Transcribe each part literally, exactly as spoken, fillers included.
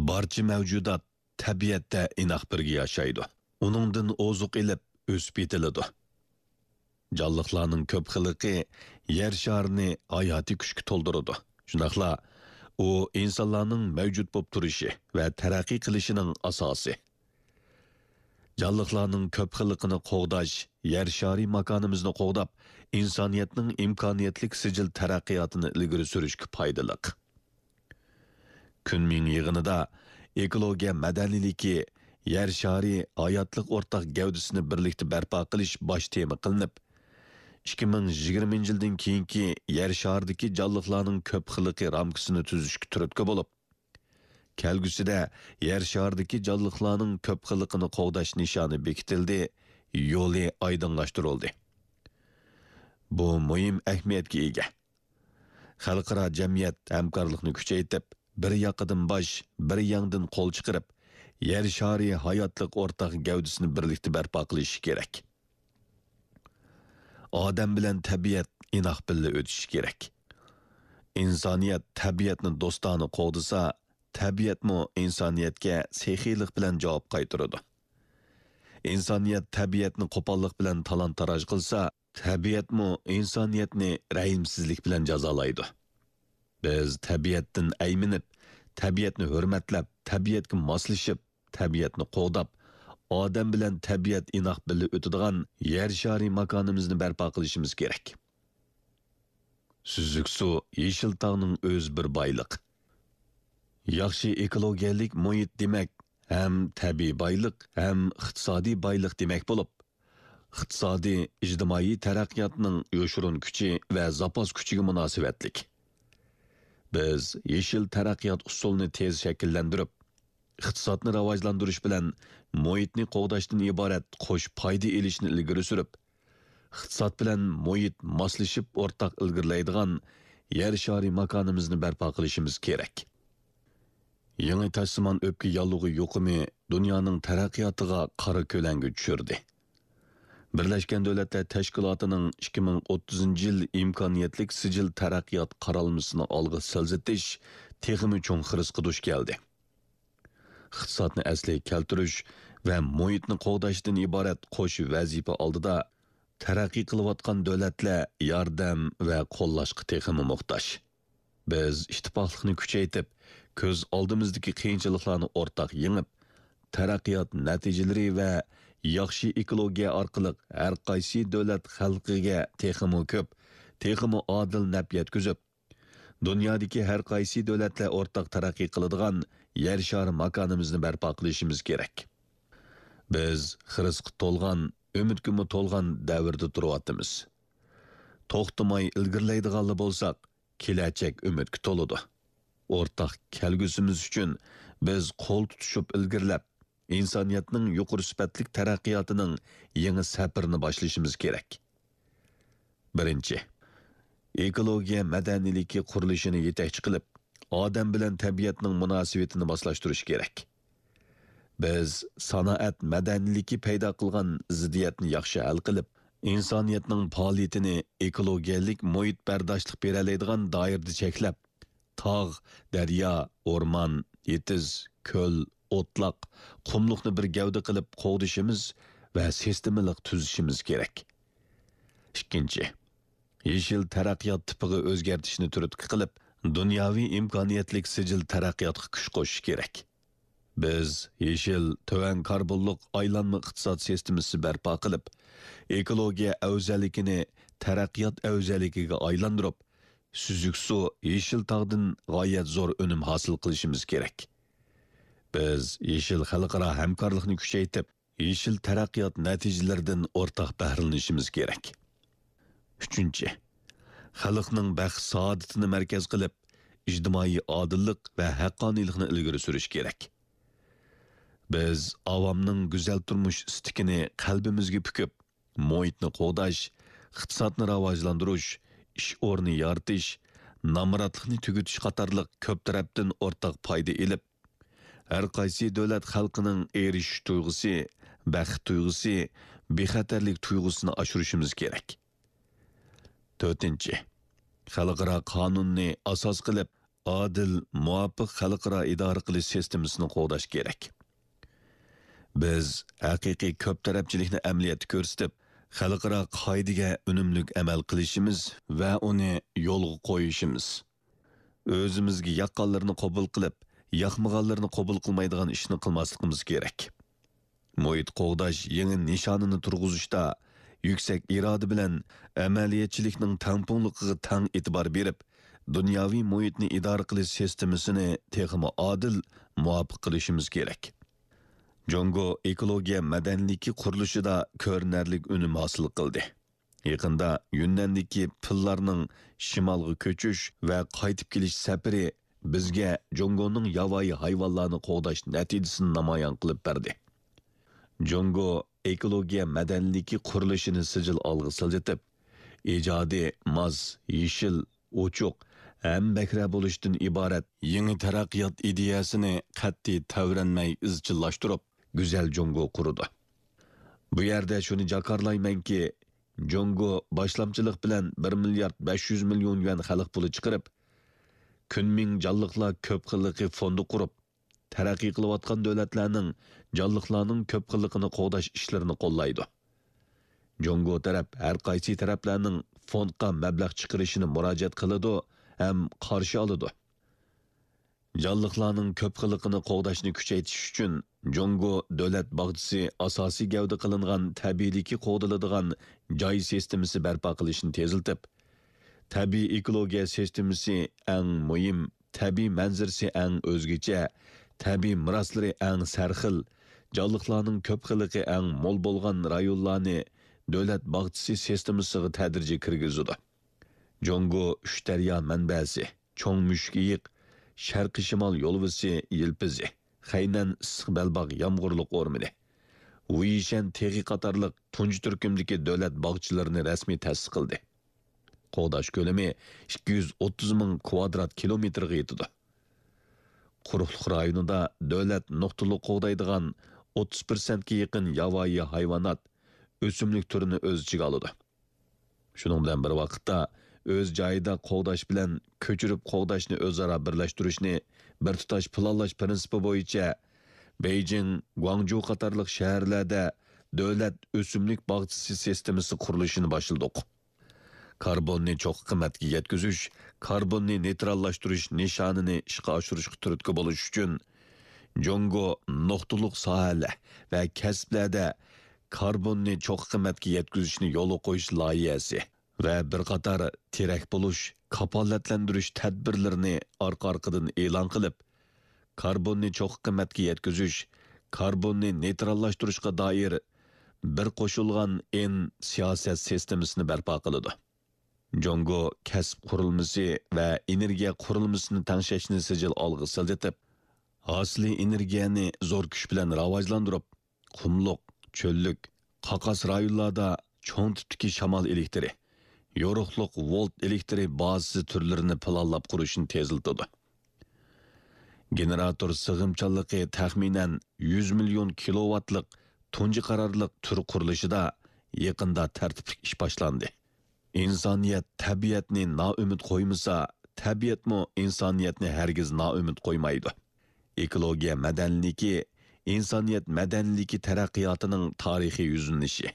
بارچە مەۋجۇدات تەبىئەتتە ئىناق بىرگە ياشايدۇ. ئۇنىڭدىن ئوزۇق ئېلىپ، ئۆسۈپ يېتىلىدۇ. جانلىقلارنىڭ كۆپ خىللىقى يەر شارىنى ھاياتىي كۈچكە تولدۇرىدۇ. شۇنداقلا ئۇ ئىنسانلارنىڭ مەۋجۇت بولۇپ تۇرۇشى ۋە تەرەققىي قىلىشىنىڭ ئاساسى. جانلىقلارنىڭ كۆپ خىللىقىنى قوغداش يەر شارى ماكانىمىزنى قوغداپ، ئىنسانىيەتنىڭ ئىمكانىيەتلىك سىجىل تەرەققىياتىنى ئىلگىرى سۈرۈشكە پايدىلىق. كۈنمىڭ يىغىنىدا ئېكولوگىيە مەدەنىيلىكى يەر شارى ھاياتلىق ئورتاق گەۋدىسىنى بىرلىكتە بەرپا قىلىش باش تېما قىلىنىپ، ئىككى مىڭ يىگىرمىنچى يىلدىن كېيىنكى يەر شارىدىكى جانلىقلارنىڭ كۆپ خىللىقى رامكىسىنى تۈزۈشكە تۈرتكە بولۇپ، كەلگۈسىدە يەر شارىدىكى جانلىقلارنىڭ كۆپ خىللىقىنى قوغداش نىشانى بېكىتىلدى، يولى ئايدىڭلاشتۇرۇلدى. بۇ مۇھىم ئەھمىيەتكە ئىگە. خەلقئارا جەمئىيەت ھەمكارلىقنى كۈچەيتىپ، بىر ياقىدىن باش، بىر ياڭدىن قول چىقىرىپ، يەر شارى ھاياتلىق ئورتاق گەۋدىسىنى بىرلىكتە بەرپا قىلىشى كېرەك. ئادەم بىلەن تەبىئەت ئىناق بىللە ئۆتۈشى كېرەك. ئىنسانىيەت تەبىئەتنى دوستانە قوغدىسا، تەبىئەتمۇ ئىنسانىيەتكە سېخىيلىق بىلەن جاۋاب قايتۇرىدۇ. ئىنسانىيەت تەبىئەتنى قوپاللىق بىلەن تالان-تاراج قىلسا، تەبىئەتمۇ ئىنسانىيەتنى رەھىمسىزلىك بىلەن جازالايدۇ. بىز تەبىئەتتىن ئەيمىنىپ، تەبىئەتنى ھۆرمەتلەپ، تەبىئەتكە ماسلىشىپ، تەبىئەتنى قوغداپ، ئادەم بىلەن تەبىئەت ئىناق بىللە ئۆتىدىغان يەر شارى ماكانىمىزنى بەرپا قىلىشىمىز كېرەك. سۈزۈك سۇ، يېشىل تاغنىڭ ئۆزى بىر بايلىق. ياخشى ئېكولوگىيەلىك مۇھىت دېمەك، ھەم تەبىئىي بايلىق، ھەم ئىقتىسادىي بايلىق دېمەك بولۇپ، ئىقتىسادىي، ئىجتىمائىي تەرەققىياتنىڭ يوشۇرۇن كۈچى ۋە زاپاس كۈچىگە مۇناسىۋەتلىك. بىز يېشىل تەرەققىيات ئۇسۇلىنى تېز شەكىللەندۈرۈپ، ئىقتىسادنى راۋاجلاندۇرۇش بىلەن مۇھىتنى قوغداشتىن ئىبارەت قوش پايدا ئېلىشنى ئىلگىرى سۈرۈپ، ئىقتىساد بىلەن مۇھىت ماسلىشىپ ئورتاق ئىلگىرىلەيدىغان يەر شارى ماكانىمىزنى بەرپا قىلىشىمىز كېرەك. يېڭى تاشسىمان ئۆپكە ياللۇغى يۇقۇمى دۇنيانىڭ تەرەققىياتىغا قارا كۆلەڭگە چۈشۈردى. بىرلەشكەن دۆلەتلەر تەشكىلاتىنىڭ ئىككى مىڭ ئوتتۇزىنچى يىل ئىمكانىيەتلىك سىجىل تەرەققىيات قارالمىسىنى ئالغا سىلجىتىش تېخىمۇ چوڭ خىرىسقا دۇچ كەلدى. ئىقتىسادنى ئەسلىگە كەلتۈرۈش ۋە مۇھىتنى قوغداشتىن ئىبارەت قوش ۋەزىپە ئالدىدا تەرەققىي قىلىۋاتقان دۆلەتلەر ياردەم ۋە قوللاشقا تېخىمۇ موھتاج. بىز ئىتتىپاقلىقنى كۈچەيتىپ، كۆز ئالدىمىزدىكى قىيىنچىلىقلارنى ئورتاق يېڭىپ، تەرەققىيات نەتىجىلىرى ۋە ياخشى ئېكولوگىيە ئارقىلىق ھەر قايسى دۆلەت خەلقىگە تېخىمۇ كۆپ، تېخىمۇ ئادىل نەپ يەتكۈزۈپ، دۇنيادىكى ھەر قايسى دۆلەتلەر ئورتاق تەرەققىي قىلىدىغان يەر شارى ماكانىمىزنى بەرپا قىلىشىمىز كېرەك. بىز خىرىسقا تولغان، ئۈمىدكىمۇ تولغان دەۋردە تۇرۇۋاتىمىز. توختىماي ئىلگىرىلەيدىغانلا بولساق، كېلەچەك ئۈمىدكە تولىدۇ. ئورتاق كەلگۈسىمىز ئۈچۈن بىز قول تۇتۇشۇپ ئىلگىرىلەپ، ئىنسانىيەتنىڭ يۇقىرى سۈپەتلىك تەرەققىياتىنىڭ يېڭى سەپىرىنى باشلىشىمىز كېرەك. بىرىنچى، ئېكولوگىيە مەدەنىيلىكى قۇرۇلۇشىنى يېتەكچى قىلىپ، ئادەم بىلەن تەبىئەتنىڭ مۇناسىۋىتىنى ماسلاشتۇرۇش كېرەك. بىز سانائەت مەدەنىيلىكى پەيدا قىلغان زىددىيەتنى ياخشى ھەل قىلىپ، ئىنسانىيەتنىڭ پائالىيىتىنى ئېكولوگىيەلىك مۇھىت بەرداشلىق بېرەلەيدىغان دائىرىدە چەكلەپ، تاغ، دەريا، ئورمان، يېتىز، كۆل، ئوتلاق، قۇملۇقنى بىر گەۋدە قىلىپ قوغدىشىمىز ۋە سىستېمىلىق تۈزۈشىمىز كېرەك. ئىككىنچى، يېشىل تەرەققىيات تىپىغا ئۆزگەرتىشنى تۈرتكە قىلىپ، دۇنياۋى ئىمكانىيەتلىك سىجىل تەرەققىياتقا كۈچ قوشۇش كېرەك. بىز يېشىل، تۆۋەن كاربونلۇق ئايلانما ئىقتىساد سىستېمىسى بەرپا قىلىپ، ئېكولوگىيە ئەۋزەللىكىنى تەرەققىيات ئەۋزەللىكىگە ئايلاندۇرۇپ، سۈزۈك سۇ، يېشىل تاغدىن غايەت زور ئۈنۈم ھاسىل قىلىشىمىز كېرەك. بىز يېشىل خەلقئارا ھەمكارلىقنى كۈچەيتىپ، يېشىل تەرەققىيات نەتىجىلىرىدىن ئورتاق بەھرىلىنىشىمىز كېرەك. ئۈچىنچى، خەلقنىڭ بەخت-سائادىتىنى مەركەز قىلىپ، ئىجتىمائىي ئادىللىق ۋە ھەققانىيلىقنى ئىلگىرى سۈرۈش كېرەك. بىز ئاۋامنىڭ گۈزەل تۇرمۇش ئىستىكىنى قەلبىمىزگە پۈكۈپ، مۇھىتنى قوغداش، ئىقتىسادنى راۋاجلاندۇرۇش، ئىش ئورنى يارىتىش، نامراتلىقنى تۈگىتىش قاتارلىق كۆپ تەرەپتىن ئورتاق پايدا ئېلىپ، ھەر قايسى دۆلەت خەلقىنىڭ ئېرىشىش تۇيغۇسى، بەخت تۇيغۇسى، بىخەتەرلىك تۇيغۇسىنى ئاشۇرۇشىمىز كېرەك. تۆتىنچى، خەلقئارا قانۇننى ئاساس قىلىپ، ئادىل، مۇۋاپىق خەلقئارا ئىدارە قىلىش سىستېمىسىنى قوغداش كېرەك. بىز ھەقىقىي كۆپ تەرەپچىلىكنى ئەمەلىيەتتە كۆرسىتىپ، خەلقئارا قائىدىگە ئۈنۈملۈك ئەمەل قىلىشىمىز ۋە ئۇنى يولغا قويۇشىمىز. ئۆزىمىزگە ياققانلىرىنى قوبۇل قىلىپ، ياقمىغانلىرىنى قوبۇل قىلمايدىغان ئىشنى قىلماسلىقىمىز كېرەك. مۇھىت قوغداش يېڭى نىشانىنى تۇرغۇزۇشتا يۈكسەك ئىرادە بىلەن ئەمەلىيەتچىلىكنىڭ تەڭپۇڭلۇقىغا تەڭ ئېتىبار بېرىپ، دۇنياۋى مۇھىتنى ئىدارە قىلىش سىستېمىسىنى تېخىمۇ ئادىل، مۇۋاپىق قىلىشىمىز كېرەك. جۇڭگو ئېكولوگىيە مەدەنىيلىكى قۇرۇلۇشىدا كۆرۈنەرلىك ئۈنۈم ھاسىل قىلدى. يېقىندا يۈننەندىكى پىللارنىڭ شىمالغا كۆچۈش ۋە قايتىپ كېلىش سەپىرى بىزگە جۇڭگونىڭ ياۋايى ھايۋانلارنى قوغداش نەتىجىسىنى نامايان قىلىپ بەردى. جۇڭگو ئېكولوگىيە مەدەنىيلىكى قۇرۇلۇشىنى سىجىل ئالغا سىلجىتىپ، ئىجادىي، ماس، يېشىل، ئوچۇق، ھەمبەھرە بولۇشتىن ئىبارەت يېڭى تەرەققىيات ئىدىيەسىنى قەتئىي تەۋرەنمەي ئىزچىللاشتۇرۇپ، گۈزەل جۇڭگو قۇرىدۇ. بۇ يەردە شۇنى جاكارلايمەنكى، جۇڭگو باشلامچىلىق بىلەن بىر مىليارد بەش يۈز مىليون يۈەن خەلق پۇلى چىقىرىپ، كۈنمىڭ جانلىقلار كۆپ خىللىقى فوندى قۇرۇپ، تەرەققىي قىلىۋاتقان دۆلەتلەرنىڭ جانلىقلارنىڭ كۆپ خىللىقىنى قوغداش ئىشلىرىنى قوللايدۇ. جۇڭگو تەرەپ ھەر قايسى تەرەپلەرنىڭ فوندقا مەبلەغ چىقىرىشىنى مۇراجىئەت قىلىدۇ ھەم قارشى ئالىدۇ. جانلىقلارنىڭ كۆپ خىللىقىنى قوغداشنى كۈچەيتىش ئۈچۈن، جۇڭگو دۆلەت باغچىسى ئاساسىي گەۋدە قىلىنغان تەبىئىيلىكى قوغدىلىدىغان جاي سىستېمىسى بەرپا قىلىشنى تېزلىتىپ، تەبىئىي ئېكولوگىيە سىستېمىسى ئەڭ مۇھىم، تەبىئىي مەنزىرىسى ئەڭ ئۆزگىچە، تەبىئىي مىراسلىرى ئەڭ سەرخىل، جانلىقلارنىڭ كۆپ خىللىقى ئەڭ مول بولغان رايونلارنى دۆلەت باغچىسى سىستېمىسىغا تەدرىجىي كىرگۈزىدۇ. جۇڭگو ئۈچ دەريا مەنبەسى، چوڭ مۈشۈكىيىق، شەرقىي شىمال يولۋىسى يىلپىزى، خەينەن ئىسسىق بەلباغ يامغۇرلۇق ئورمىنى، ۋۇيشەن تېغى قاتارلىق تۇنجى تۈركۈمدىكى دۆلەت باغچىلىرىنى رەسمىي تەسىس قىلدى. قوغداش كۆلىمى ئىككى يۈز ئوتتۇز مىڭ كۋادرات كىلومېتىرغا يېتىدۇ. قۇرۇقلۇق رايونىدا دۆلەت نۇقتىلىق قوغدايدىغان ئوتتۇز پىرسەنتكە يېقىن ياۋايى ھايۋانات، ئۆسۈملۈك تۈرىنى ئۆز ئىچىگە ئالىدۇ. شۇنىڭ بىلەن بىر ۋاقىتتا، ئۆز جايىدا قوغداش بىلەن كۆچۈرۈپ قوغداشنى ئۆزئارا بىرلەشتۈرۈشنى بىر تۇتاش پىلانلاش پىرىنسىپى بويىچە بېيجىڭ، گۇاڭجۇ قاتارلىق شەھەرلەردە دۆلەت ئۆسۈملۈك باغچىسى سىستېمىسى قۇرۇلۇشىنى باشلىدۇق. كاربوننى چوققا قىممەتكە يەتكۈزۈش، كاربوننى نېيتراللاشتۇرۇش نىشانىنى ئىشقا ئاشۇرۇشقا تۈرتكە بولۇش ئۈچۈن، جۇڭگو نۇقتىلىق ساھەلەر ۋە كەسىپلەردە كاربوننى چوققا قىممەتكە يەتكۈزۈشنى يولغا قويۇش لايىھەسى ۋە بىر قاتار تىرەك بولۇش، كاپالەتلەندۈرۈش تەدبىرلىرىنى ئارقا-ئارقىدىن ئېلان قىلىپ، كاربوننى چوققا قىممەتكە يەتكۈزۈش، كاربوننى نېيتراللاشتۇرۇشقا دائىر بىر قوشۇلغان ئېن سىياسەت سىستېمىسىنى بەرپا قىلىدۇ. جۇڭگو كەسىپ قۇرۇلمىسى ۋە ئېنېرگىيە قۇرۇلمىسىنى تەڭشەشنى سىجىل ئالغا سىلجىتىپ، ھاسىلىي ئېنېرگىيەنى زور كۈچ بىلەن راۋاجلاندۇرۇپ، قۇملۇق، چۆللۈك، قاقاس رايونلاردا چوڭ تىپتىكى شامال ئېلېكتىرى، يورۇقلۇق ۋولت ئېلېكتىرى بازىسى تۈرلىرىنى پىلانلاپ قۇرۇشنى تېزلىتىدۇ. گېنېراتور سىغىمچانلىقى تەخمىنەن يۈز مىليون كىلوۋاتلىق تۇنجى قارارلىق تۈر قۇرۇلۇشىدا يېقىندا تەرتىپلىك ئىش باشلاندى. ئىنسانىيەت تەبىئەتنى نائۈمىد قويمىسا، تەبىئەتمۇ ئىنسانىيەتنى ھەرگىز نائۈمىد قويمايدۇ. ئېكولوگىيە مەدەنىيلىكى ئىنسانىيەت مەدەنىيلىكى تەرەققىياتىنىڭ تارىخىي يۈزلىنىشى.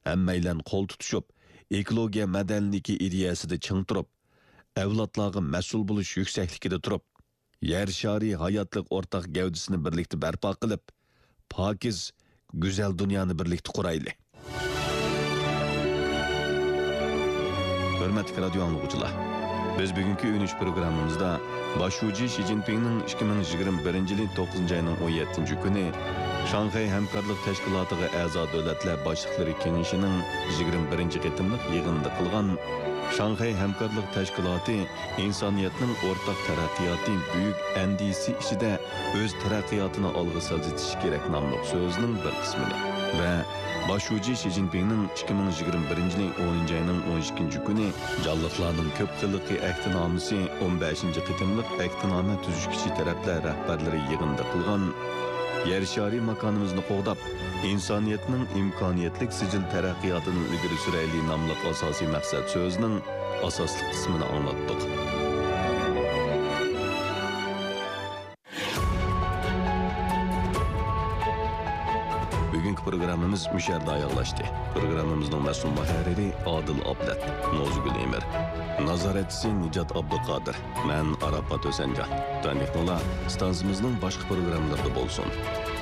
ھەممەيلەن قول تۇتۇشۇپ، ئېكولوگىيە مەدەنىيلىكى ئىدىيەسىدە چىڭ تۇرۇپ، ئەۋلادلارغا مەسئۇل بولۇش يۈكسەكلىكىدە تۇرۇپ، يەر شارى ھاياتلىق ئورتاق گەۋدىسىنى بىرلىكتە بەرپا قىلىپ، پاكىز، گۈزەل دۇنيانى بىرلىكتە قۇرايلى. ھۆرمەتلىك رادىيو ئاڭلىغۇچىلار، بىز بۈگۈنكى ئۈنۈش پروگراممىمىزدا باش شۇجى شى جىنپىڭنىڭ ئىككى مىڭ يىگىرمە بىرىنچى يىلى توققۇزىنچى ئاينىڭ ئون يەتتىنچى كۈنى شاڭخەي ھەمكارلىق تەشكىلاتىغا ئەزا دۆلەتلەر باشلىقلىرى كېڭىشىنىڭ يىگىرمە بىرىنچى قېتىملىق يىغىنىدا قىلغان شاڭخەي ھەمكارلىق تەشكىلاتى ئىنسانىيەتنىڭ ئورتاق تەرەققىياتى بۈيۈك ئەندىزىسى ئىچىدە ئۆز تەرەققىياتىنى ئالغا سىلجىتىشى كېرەك ناملىق سۆزىنىڭ بىر قىسمىنى ۋە باش شۇجى شى جىنپىڭنىڭ ئىككى مىڭ يىگىرمە بىرىنچى يىلى ئونىنچى ئاينىڭ ئون ئىككىنچى كۈنى جانلىقلارنىڭ كۆپ خىللىقى ئەھدىنامىسى ئون بەشىنچى قېتىملىق ئەھدىنامە تۈزۈشكۈچى تەرەپلەر رەھبەرلىرى يىغىنىدا قىلغان يەر شارى ماكانىمىزنى قوغداپ، ئىنسانىيەتنىڭ ئىمكانىيەتلىك سىجىل تەرەققىياتىنى ئىلگىرى سۈرەيلى ناملىق ئاساسىي مەقسەت سۆزىنىڭ ئاساسلىق قىسمىنى ئاڭلاتتۇق. بۈگۈنكى پروگراممىمىز مۇشۇ يەردە ئاياغلاشتى. پروگراممىمىزنىڭ مەسئۇل مۇھەررىرى ئادىل ئابلەت، نوزۇگۈل ئېمىر، نازارەتچىسى نىجات ئابدۇقادىر، مەن ئاراپات ھۈسەنجان. تۇتاندىكىڭلار ئىستانسىمىزنىڭ باشقا پروگراممىلىرىدا بولسۇن.